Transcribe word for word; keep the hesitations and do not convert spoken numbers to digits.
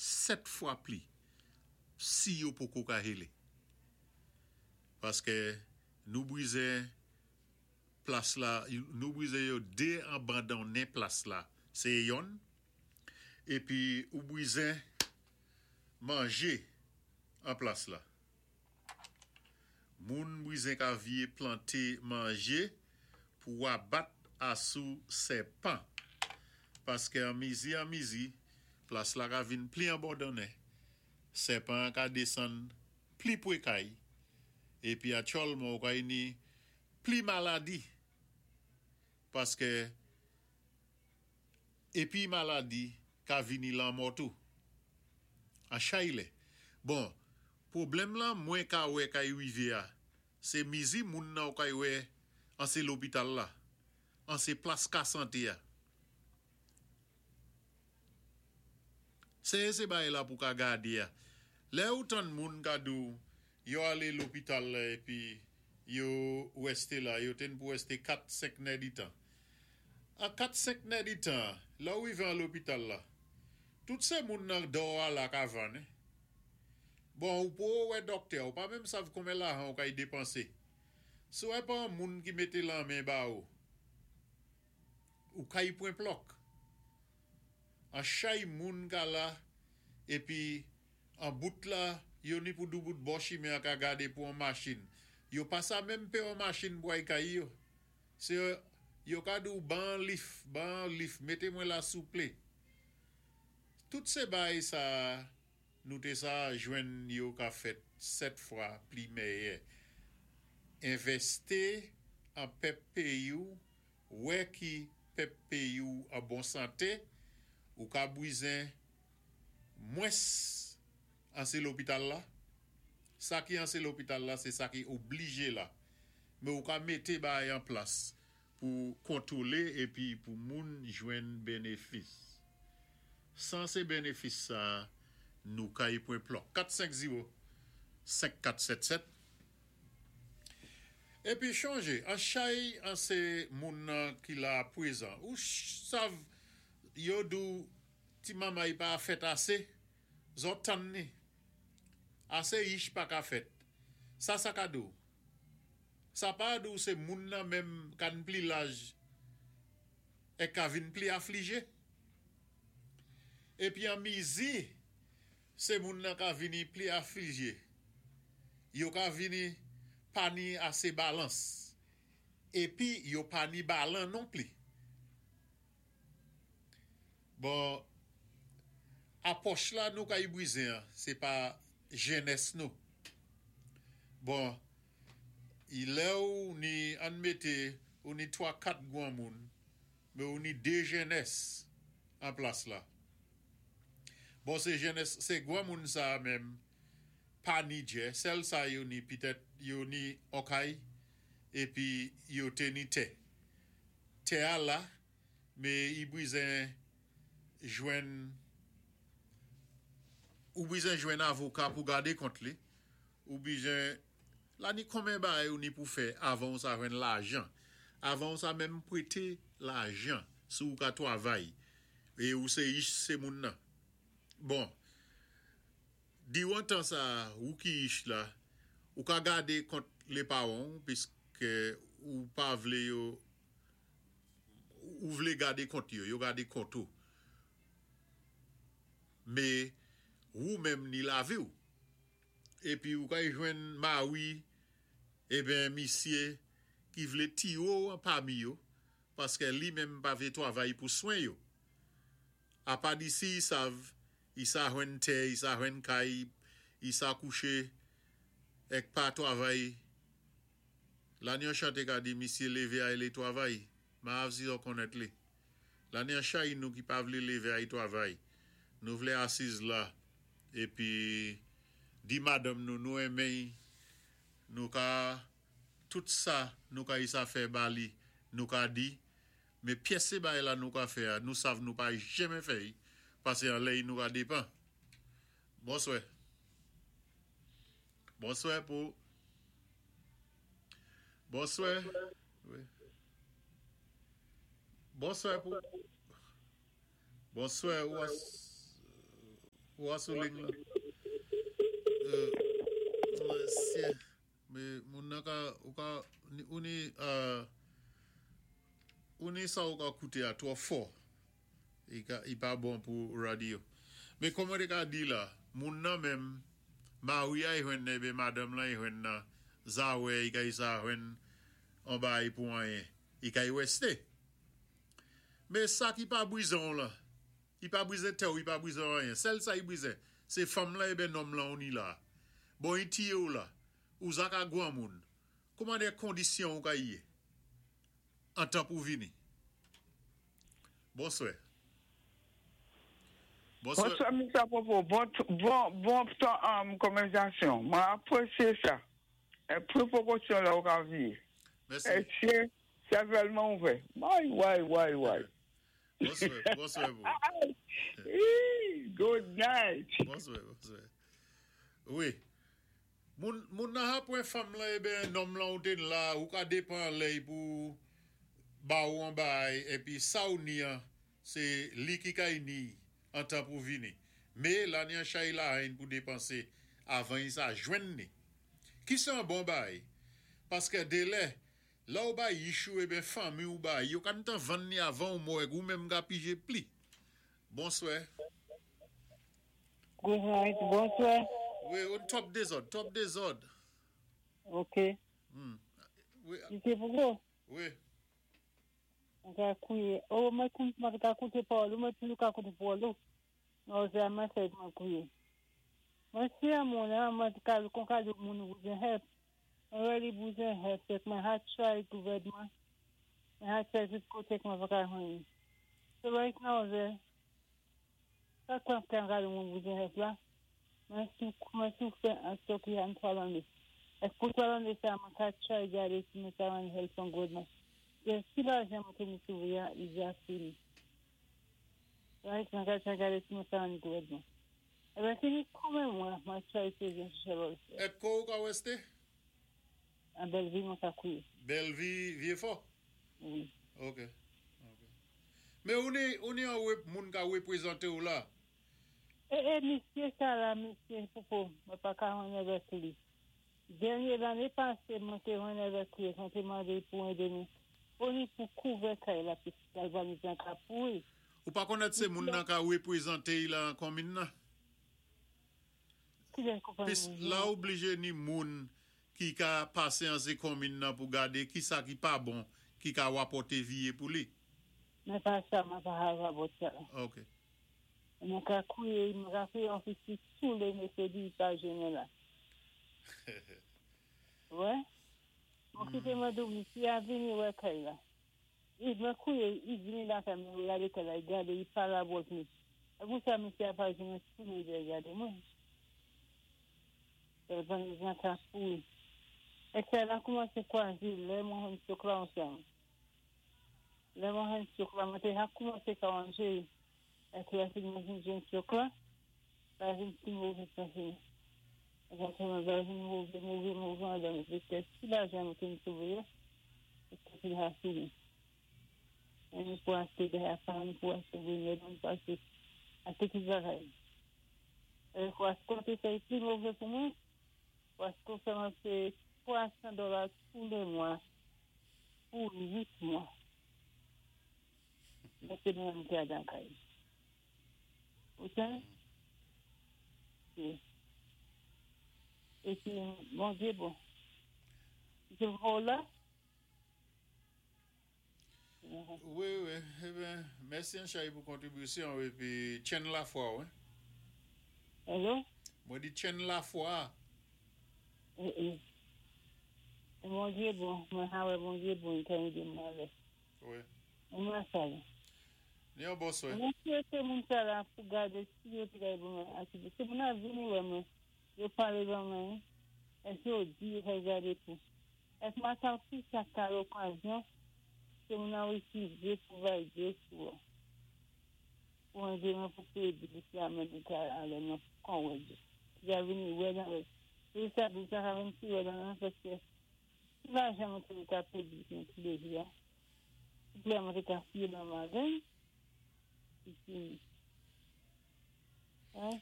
sèt fwa pli si yo poko ka héle. Paské nou bizen plas la, nou bizen yo dé-abandonnen plas la, sé yonn, épi ou bizen manjé an plas la. Moun bizen ka vyé planté manjé pou wabat asou sèpan. Paské an mizi an mizi, plas la ka vin pli abandonnen. Sèpan ka désann pli pwé kay. Épi aktyèlman ou kay ni pli maladi. Paské épi maladi ka vini lanmò tou. An chay lè. Bon, pwoblèm lan mwen ka wè kay rivé a, sé mizi moun nan ou kay wè an sé lopital la. An sé plas ka santé a. Sé sé bagay la pou ka gadé a. Lè ou tann moun ka di ou, yo alé lopital la épi yo wèsté la, yo ten pou wèsté kat senk nèditan. An kat senk nèditan, lè ou rivé an lopital la, tout sé moun nan dò a la ka vann. Bon, ou pou wè dòktè, ou pa menm sav konben lajan ou kay dépansé. Si wè pa an moun ki mété lanmen ba ou, ou kay pwen plòk. An chay moun ka la, épi an bout la, yo ni pou doubout bò chimen an ka gadé pou an machin. Yo pa sa menm pé an machin pou ay kay yo. Sé yo ka di ou ban lif, ban lif, mété mwen la souplé. Tout sé bagay sa, nou té sa jwenn yo ka fèt sèt fwa pli mèyè. Envèsté an pèp péyi ou, wè ki pèp péyi ou an bon santé, ou ka bizen mwens an sé lopital la. Sa ki an sé lopital la, sé sa ki oblijé la. Mé ou ka mété bagay an plas pou kontwolé épi pou moun jwenn bénéfis. San sé bénéfis sa, nou kay pwen plòk. kat senk zewo senk kat sèt sèt. Épi chonjé, an chay an sé moun nan ki la pwézan. Ou sav yo di ou ti mamay pa fèt asé, zòt tann ni. Asé yich pa ka fèt. Sa sa ka di ou. Sa pa di ou sé moun nan menm kan pli laj é ka vin pli aflijé. Épi an mizi, sé moun nan ka vini pli aflijé. Yo ka vini pa ni asé balans. Épi yo pa ni balan non pli. Bon, apwòch la nou kay bizen, sé pa jenès nou. Bon, lè ou ni an mété, ou ni twa kat gwanmoun, mé ou ni dé jenès an plas la. Bon, sé jenès, sé gwanmoun sa menm, pa ni djè, sèl sa yo ni pitèt, yo ni on kay, épi yo té ni tè. Tè a la, mé i bizen jwenn, ou bizen jwenn avoka pou gadé kont li, ou bizen, la ni konben bagay ou ni pou fè avan ou sa jwenn lajan. Avan ou sa menm pwété lajan sou ou ka twavay. É ou sé yich sé moun nan. Bon, diwan tan sa ou ki yich la, ou ka gadé kont lé pawan, piské ou pa vlé yo, ou vlé gadé kont yo, yo gadé kont ou. Mé ou menm ni lavi ou. Épi ou kay jwenn mawi, eben misyé ki vlé tiwo an pami yo, paské li menm pa vlé twavay pou swen yo. Apa disi i sav, i sa jwenn tè, i sa jwenn kay, i sa kouché, èk pa twavay. La ni an chanté ka di misyé lévé ay lé twavay, ma av si yo konnèt li. La ni an chay nou ki pa vlé lévé ay twavay. Nou vlé asiz la, épi di madanm nou, nou enmen, nou ka, tout sa, nou ka i sa fè ba li, nou ka di, mé pyès sé bagay la nou ka fè, nou sav nou pa jenmen fè, pasé an lèy nou ka dépan. Bonswè. Bonswè pou. Bonswè. Wi. Bonswè pou. Bonswè, ou Ou sou liy la. Euh, sé, mé moun nan ka, ou ka, ou ni, euh, ou ni sa ou ka kouté a twò fò. I ka, i pa bon pou radyo. Mé kòman té ka di la, moun nan menm, mari a i jwenn bé madanm la i jwenn nan, zawè i ka i sa jwenn an bay pou anyen. I ka i wèsté. Mé sa ki pa bwizon la, i pa bwizé tè ou i pa bwizé anyen. Sèl sa i bwizé, sé fanm la ébé nonm la ou ni la. Bon, i tiyé ou la, ou za ka gwan moun. Kòman dé kondisyon ou ka yé? An tan pou vini. Bonswè. Bonswè. Bonswa, Mister Popo. Bon, bon, bon tan um, konvèsasyon. Mwen apwésyé sa. É pwopozisyon la ou ka vi. Mèsi. É sé, sé vwèman ouvè. Way, way, way, way. Bonswè, bonswè pou. Good night. Bonswè, bonswè. Wi. Moun, moun nan hapwen fanm la ébé nonm la ou ten la, ou ka dépan lèy pou ba ou an bay, épi sa ou ni an, sé li ki kay ni an tan pou vini. Mé la ni an chay la hein pou dépansé avan yi sa jwenn ni. Ki sé an bon bay? Paské délè, la ou bay yichou ébé fanmi ou bay, yo ka tan vann ni avan ou mò ou menm ka pijé pli. Bonswè. Good night, bonswè. Wi, on twòp dézòd, twòp dézòd. Ok. Hmm. Wi, Misye Popo, wi. Mwen ka kouye. Oh, mwen koun, mwen ka koute pawòl, mwen toujou ka koute pawòl. Non, sé mwen fè mwen kouye. Mwen si an moun, an, mwen ka kon ka di moun bouzen help. Mwen really bouzen help. Fèk mwen ha try gouvèdman. Mwen ha try tout koté k mwen pa ka jwenn. So right now, ze, sa kwa kan ka di moun bouzen help la, mwen sou, mwen sou fè an stok yon twa lanné. Èk pou twa lanné sa, mwen ka try gadé si mwen ta jwenn help from gouvèdman. E si lajan mwen té ni sou ya, i ja fini. Right, mwen ka try gadé si mwen ta jwenn gouvèdman. Ébé, se ni konbyen mwa, mwen try sé jen social welfare. É ko ou ka wèsté? An Bellevue mwen ka kouye. Bellevue, Vieux-Fort? Wi. Ok. Ok. Mé ou ni, ou ni an wép, moun ka wépwézanté ou la? É, é, misyé sa la, misyé Popo, mwen pa ka jwenn avèk li. Dènyé lanné pasé, mwen té jwenn avèk li, mwen té mandé pou édé nou. Ou ni pou kouvè kay la, pi galvanize an ka pouri. Ou pa konnèt sé moun nan ka wépwézanté y la an konmin nan? Ki lè konprann Pis moun la nan? Oublijé ni moun ki ka pasé an sé konmin nan pou gadé ki sa ki pa bon, ki ka wapòté viyé pou li. Mwen pa sa, mwen pa have about sa. Ok. Mwen ka kouye, mwen ka fè yon fisi tou lé mèkwédi pa jounen la. Wè? Mwen kité mwen dou, misye a vini wè kay la. I mwen kouye, i vini la kay mwen, gade kay la, i gade, i pala about mi. E pou sa misye a pa jounen tou lé de gade mwen. E ban jan ka pouyi. É kay la koumansé kwazi, lè mwen jwenn stroke la ansanm. Lè mwen jwenn stroke la, mwen té ha koumansé ka wanje. É ki la fin mwen vin jwenn stroke la, la vin pi mové pasé. É sa mwen va vin mové, mové, mové an dan. Paské si lajan mwen té m sové yo, é ki fin ha fini. É nou pou achté diaphragm, nou pou achté remèd, nou pou achté achté tout bagay. É paské te fè pi mové pou mwen, paské fè mwen fè twa san dola tou lé mwa, pou uit mwa. Mwen sé mwen mwen dan kay. Ou sa? Si. É pi, Bondyé bon. Je vò la? Wi, wi. Ébén, mèsi an chay pou kontribisyon épi tjenn lafwa, wi. Hello? Mwen di tjenn lafwa. É, é. Bondyé bon, mwen ha wè Bondyé bon, kan yi di mwen wè. Wi. Mwen sa la. Ni an bonswè. Mwen souwété moun sa la pou gade si yo te kay bon mwen ati. Se moun a vini wè mwen, yo pale ban mwen, é si yo di yo kay gade pou. Èk mwen sa pi sa ka okazyon, se moun a refize pou vay de sou. Pou an de mwen pou peye bilis la mwen di ka ale mwen kon wè di. Ya vini wè dan wè. Se sa di sa ka vini si wè dan nan, paske si la jan mwen te ka peye bilis mwen tou lé jou ya. Si ple mwen te ka fiye nan mazen, isi. Hein?